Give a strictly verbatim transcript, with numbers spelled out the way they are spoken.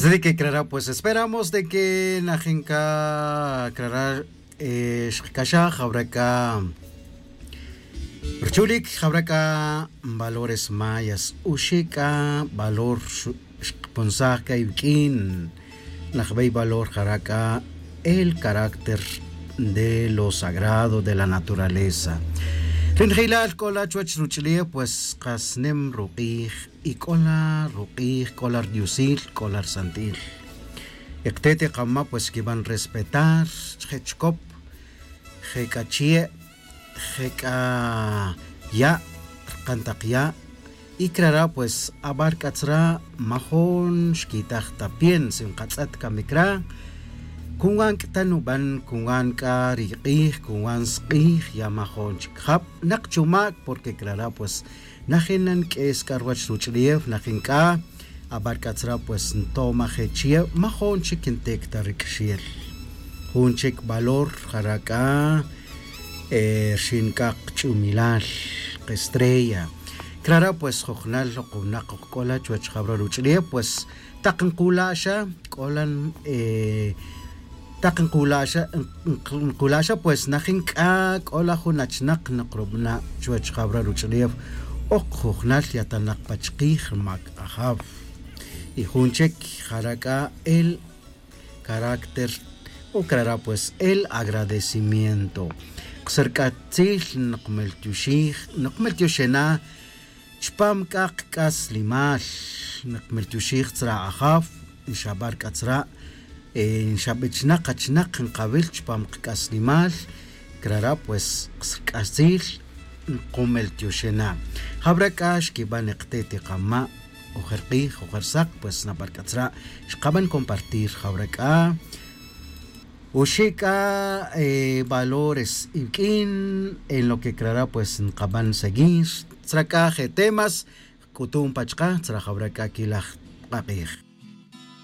Así de que crara pues esperamos de que najin c'a crara xkcaxaj jawra c'a ruchulic jawra c'a valores mayas, oxi' c'a valor xkpunsaj c'a iviq'uin najbey valor jara' c'a el carácter de lo sagrado de la naturaleza. Ri njeilal c'o la chuwech ruch'ulef pues kas nim ruk'ij, y c'o la ruk'ij c'o la rdiosil c'o la rsantil. Y ktet y kama' pues xquiban respetar, je' chicop, je' c'a chie', je' c'a ya', rkan tak ya'. Y crara' pues abar c'atzra' majun xquitaj ta pien si nkatz'et camic ra'. Cungan c'a ta nuban cungan c'a ri k'ij cungan sk'ij ya majun chic jab nak chumac, porque crara' pues najin na nq'ues c'a ruwech ruch'ulef najin c'a abar c'atzra' pues ntomaj je' chie' majun chic ntic ta ri c'axel. Jun chic valor jara' c'a rxin c'a kach'umilal, kestrella. Crara' pues jujnal oj winak oj c'o la chuwech jawra ruch'ulef pues tak nkula' xa c'o la tak nkula' xa nkula' xa pues najin c'a c'o la jun achinak nkrubana' chuwech jawra ruch'ulef. Oj jujnal yatanak pa chikij ri mac ajaw. Y jun chic jara' c'a el carácter o crara' pues el agradecimiento. Kas rc'atzil nokmeltioxij nokmeltioxena' chupam c'a kac'aslimal. Nokmeltioxij tzra' ajaw nxabar c'atzra' nxabichnak achinak nkawil chupam kac'aslimal. Crara' pues kas rc'atzil nkomeltioxena'. Jawra c'a xquiban y ktet y kama' ojer k'ij ojer sak pues nabar c'atzra' xkaban compartir jawra c'a oxi' c'a valores iviq'uin en lo que crara' pues nkaban seguir. Tzra c'a je' temas c'utum pa chaka tzra jawra c'a quilaj k'ak'ij.